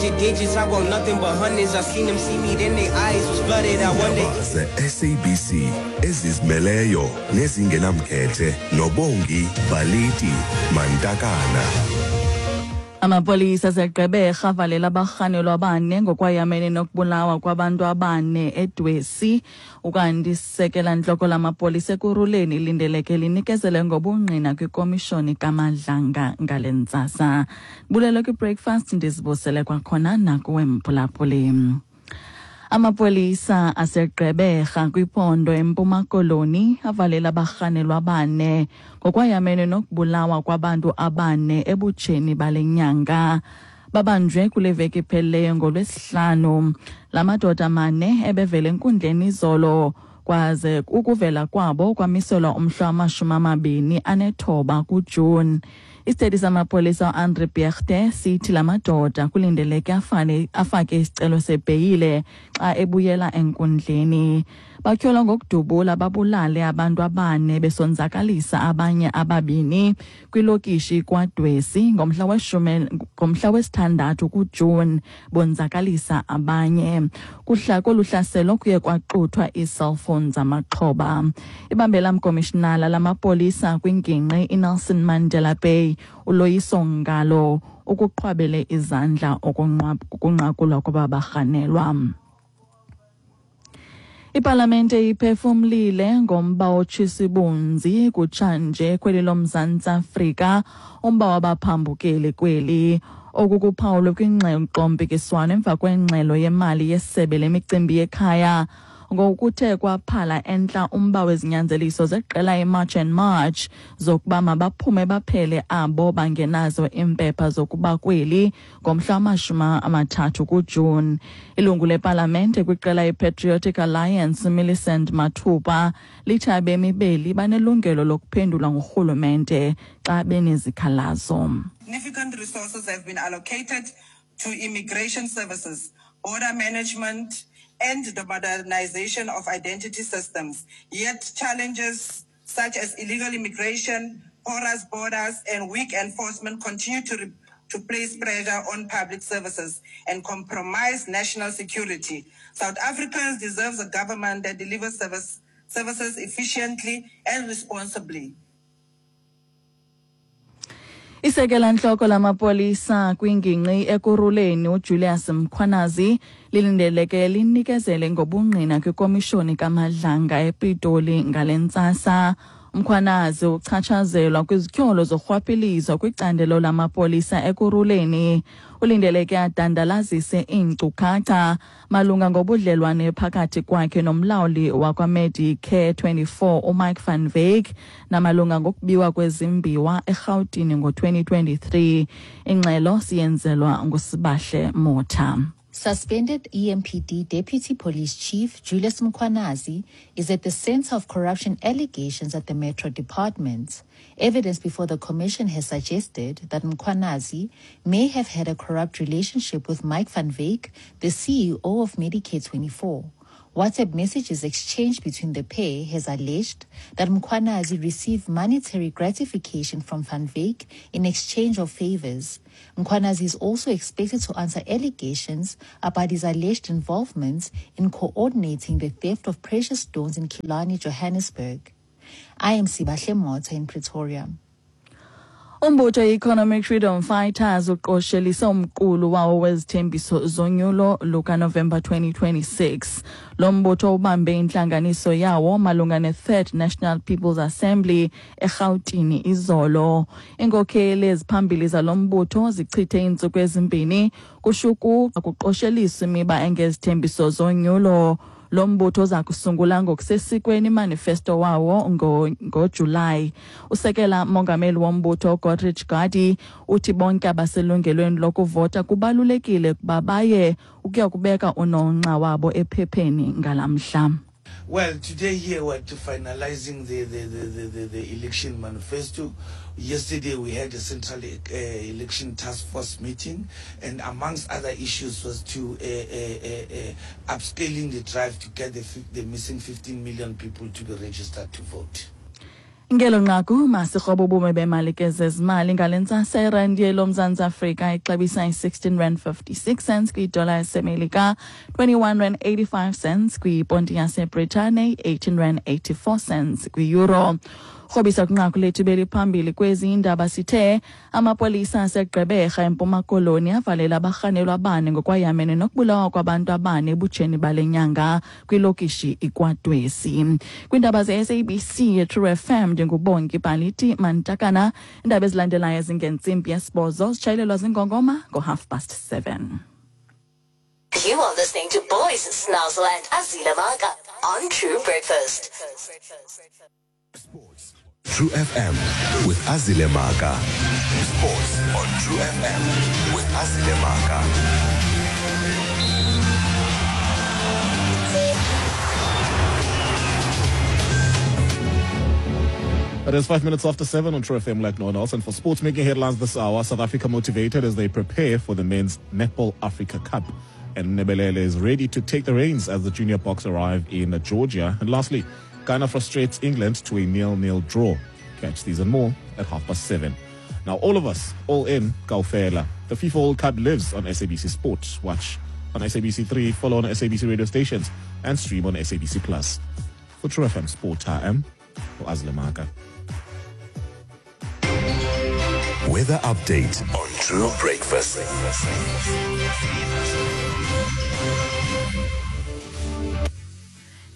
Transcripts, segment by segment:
Digit digits, I want nothing but hundreds. I seen them see me, then their eyes was flooded. I wonder. Iindaba ze-SABC ezizimeleyo nezingenamkhethe noBongi Baliti Mantakana. Amapolisa aseGqeberha avalela abarhanelwa abane ngokwayamene nokubulawa kwabantu abane eDwesi. Ukanti isekela ntloko lamapolisa Ekurhuleni lindeleke linikezele ngobungqina kwikomishoni kaMadlanga ngale ntsasa. Bulelo kwi-breakfast, ndizibusele kwakhona nakuwe mphulaphuli. Amapolisa aseGqeberha kwiphondo eMpuma Koloni avalela abarhanelwa abane ngokwayamene nokubulawa kwabantu abane ebutsheni bale nyanga. Babanjwe kule veki iphelileyo ngoLwesihlanu. La madoda mane ebevele enkundleni izolo, kwaze ukuvela kwabo kwamiselwa umhla wama-29 kuJuni. Isithethi samapolisa uAndre Beegte sithi la madoda kulindeleke afake isicelo sebheyile xa ebuyela enkundleni. Batyholwa ngokudubula babulale abantu abane besonzakalisa abanye ababini kwilokishi kwaDwesi ngomhla wesithandathu kuJuni, bonzakalisa abanye. Kuhla kolu hlaselo kuye kwaxuthwa ii-cellphone zamaxhoba. Ibambela mkomishinala lamapolisa kwingingqi iNelson Mandela Bay uLoyiso Ngalo ukuqhwabele izandla ukunqakulwa kwaba barhanelwa. Ipalamente iphefumlile ngomba otshisa ibunzi kutshanje kweli loMzantsi Afrika, umba wabaphambukeli kweli. Oku kuphawulwe kwingxoxo-mpikiswano emva kwengxelo yemali yesebe lemicimbi yekhaya, ngokuthe kwaphala entla umba wezinyanzeliso zeqela iMarch and March zokuba mabaphume baphele abo bangenazo iimpepha zokuba kweli ngomhla wama-30 kuJuni. Ilungu lepalamente kwiqela iPatriotic Alliance Millicent Mathupa lithi abemi beli banelungelo lokuphendulwa ngurhulumente xa benezikhalazo. Significant resources have been allocated to immigration services, border management, and the modernization of identity systems. Yet challenges such as illegal immigration, porous borders, and weak enforcement continue to place pressure on public services and compromise national security. South Africans deserve a government that delivers services efficiently and responsibly. Isekela ntloko lamapolisa kwingingqi Ekurhuleni uJulius Mkhwanazi lilindeleke linikezele ngobungqina kwikomishoni kaMadlanga ePitoli ngale ntsasa. Mkhwanazi uchatshazelwa kwizityholo zorhwaphilizo kwicandelo lamapolisa Ekurhuleni. Ulindeleke adandalazise iinkcukacha malunga ngobudlelwane phakathi kwakhe nomlawuli wakwaMedicare 24 uMike van Wyk namalunga ngokubiwa kwezimbiwa eRhawutini ngo-2023. Ingxelo siyenzelwa nguSibahle Motha. Suspended EMPD Deputy Police Chief Julius Mkhwanazi is at the center of corruption allegations at the Metro Department. Evidence before the commission has suggested that Mkhwanazi may have had a corrupt relationship with Mike van Wyk, the CEO of Medicare 24. WhatsApp messages exchanged between the pair has alleged that Mkhwanazi received monetary gratification from Van Wyk in exchange of favors. Mkhwanazi is also expected to answer allegations about his alleged involvement in coordinating the theft of precious stones in Killarney, Johannesburg. I am Sibahle Motha in Pretoria. Umbutho i-Economic Freedom Fighters uqoshelise umqulu wawo wezithembiso zonyulo lukaNovemba 2026. Lo mbutho ubambe intlanganiso yawo malunga ne-Third National People's Assembly eRhawutini izolo. Iinkokheli eziphambili zalo mbutho zichithe iintsuku ezimbini kushuku kuqosheliswa imiba engezithembiso zonyulo. Lo mbutho uza kusungula ngokusesikweni imanifesto wawo ngoJulayi. Usekela mongameli wombutho Godrich Gardee uthi bonke abaselungelweni lokuvota kubalulekile ukuba baye ukuya kubeka unonxa wabo ephepheni ngalamhla. Well, today here we're to finalizing the election manifesto. Yesterday we had a central election task force meeting, and amongst other issues was to upscaling the drive to get the missing 15 million people to be registered to vote. Ngelo nqaku masirhobo ubume bemali ke zezimali ngale ntsasa. Irandi yeloMzantsi Afrika ixabisa i-16 rand 56 cents kwidola yaseMelika, 21 rand 85 cents kwiponti yaseBritane, 18 rand 84 cents kwi-euro. Rhobisa kwinqaku lethu beliphambili kwezi indaba sithe amapolisa aseGqeberha eMpuma Koloni avalela abarhanelwa abane ngokwayamene nokubulawa kwabantu abane ebutsheni bale nyanga kwilokishi iKwadwesi. Kwiindaba ze-SABC yeTrue FM, ndinguBongi Baliti Mantakana. Iindaba ezilandelayo zingentsimbi yesibhozo, zitshayelelwa zingongoma ngo-7:30. You are listening to Boys Snazzle and Azila Maka on True Breakfast. True FM with Azile Maka. Sports on True FM with Azile Maka. It is 7:05 on True FM like no one else. And for sports making headlines this hour, South Africa motivated as they prepare for the men's Netball Africa Cup. And Nebelele is ready to take the reins as the junior Boks arrive in Georgia. And lastly, Ghana frustrates England to a 0-0 draw. Catch these and more at 7:30. Now, all of us, all in, Kaufela. The FIFA World Cup lives on SABC Sport. Watch on SABC 3, follow on SABC radio stations, and stream on SABC Plus. For True FM Sport, I am Azle Maka. Weather update on True Breakfast.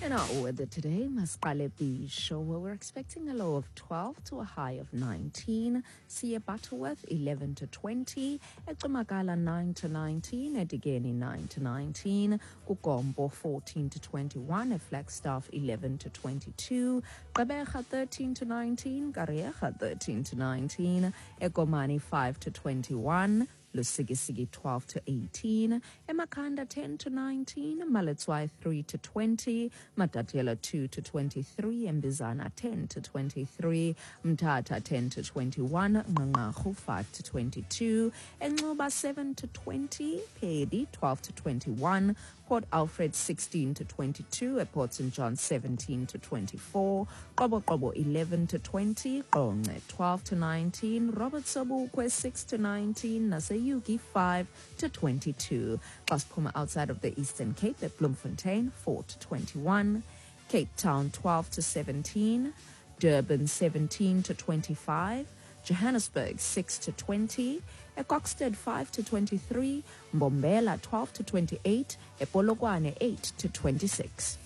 In our weather today, Masqale Beach, where we're expecting a low of 12 to a high of 19. Siya Butterworth, 11 to 20. Ecumakala, 9 to 19. Edigeni, 9 to 19. Kugombo, 14 to 21. Flagstaff, 11 to 22. Gqeberha, 13 to 19. Kariega, 13 to 19. Ekomani, 5 to 21. Lusikisiki 12 to 18, Emakanda 10 to 19, Maletswai 3 to 20, Matatiele 2 to 23, Mbizana 10 to 23, Mthatha 10 to 21, Nqanqarhu 5 to 22, Enxuba 7 to 20, Peddie 12 to 21, Port Alfred 16 to 22, at Port St. John 17 to 24, Qobo 11 to 20, Qonce 12 to 19, Robert Sobukwe 6 to 19, Naseyuki 5 to 22. Xa siphuma outside of the Eastern Cape at Bloemfontein 4 to 21, Cape Town 12 to 17, Durban 17 to 25, Johannesburg 6 to 20, Ekokstad 5 to 23, Mbombela 12 to 28, Epolokwane 8 to 26.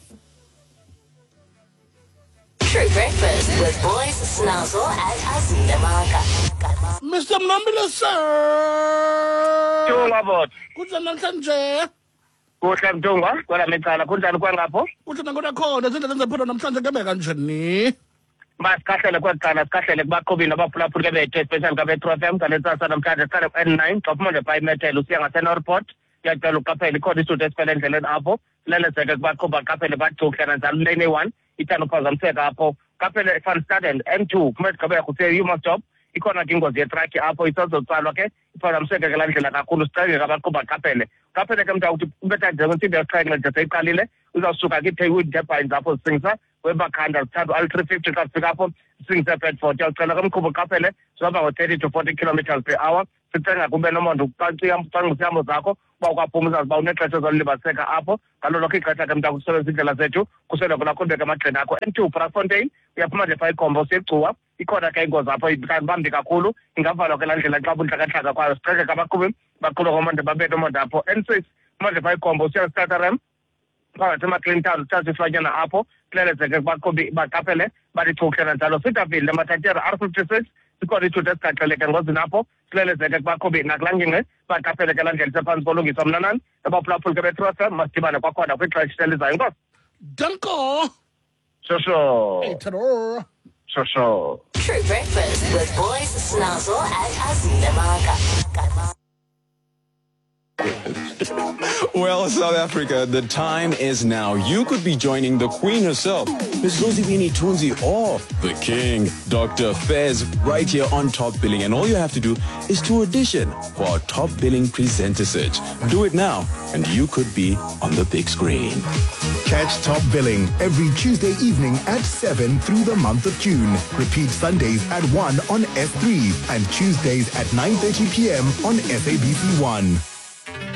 True Breakfast with Boys Snazzle and Azile Maka. Mr. Mnambile, sir. Tunga bot. Kunjani namhlanje? Kuhle Mtungwa, kwala mecala kunjani kwangapho? Kuhle nakhona khona, zindlela zephondo namhlanje kebe kanjani? Masikahlele kwekuqala, sikahlele kubaqhubi nabaphulaphuli ke bethu, especially kabe-True FM ngale ntsasa namhlanje. Siqale ku-N9 xa uphuma nje phaa iMethel usiya ngaseNorport, uyacela uqaphele ikhona isithuthi esifele endleleni apho. Silelezeke kubaqhubi baqaphele bathi kananjalo lane A1 ithanda uphazamiseka apho. Qaphele Van Staden N2 phuma eGqeberha usiya eHumansdorp, ikhona ke ingozi yetraki apho isazotsalwa ke, iphazamiseke ke laa ndlela kakhulu. Sicenge ke abaqhubi baqaphele. Qaphele ke mntakuthi ubetha nje kwentsimbi yesixhenxe nje seyiqalile, uzawusuka ke iiTurbines apho zisingisa webakhanda zithathu al-350 xa zifika apho zisingise eBedford. Uyawucela ke mqhubi uqaphele, zihamba ngo-30 to 40 kilometers per hour. Sicenga kube nomonde ucwangcisa ihambo zakho uba ukwaphuma uzazi uba unexesha ozolibaziseka apho. Ngalo lonke ixesha ke mntakuthi usebenzisa iindlela zethu, khuseleko lakho libeke emagxeni akho. N2 Brakfontein uyaphuma nje phaa iGombo usiya eGcuwa, ikhona ke ingozi apho bambi kakhulu, ingavalwa ke laa ndlela xa buntlakatlaka kwayo. Sicenge ke abaqhubi baqhube ngomonde babe nomonde apho. N6 phuma nje phaa iGombo usiya Stutterheim phakathi eMacleantown uthatha isilwanyana apho, kulelezeke kubaqhubi baqaphele bathi chuhle kanjalo. Cedarville eMatatiele R56 sikhona isithuthi esigaxeleke engozini apho, silelezeke kubaqhubi nakulaa ngingqi baqaphele ke laa ndlela isephantsi kolungiswa. Mnanani abaphulaphuli ke beTrue FM, masidibane kwakhona kwixesha elizayo. Enkosi. Danko. Shosho. Hey, tador. Shosho. True Breakfast with Boys Snazzle and Azile Maka. Well, South Africa, the time is now. You could be joining the queen herself, Miss Zozibini Tunzi, or the king, Dr. Fez, right here on Top Billing. And all you have to do is to audition for our Top Billing presenter search. Do it now, and you could be on the big screen. Catch Top Billing every Tuesday evening at 7 through the month of June. Repeat Sundays at 1 on S3 and Tuesdays at 9:30 p.m. on SABC1.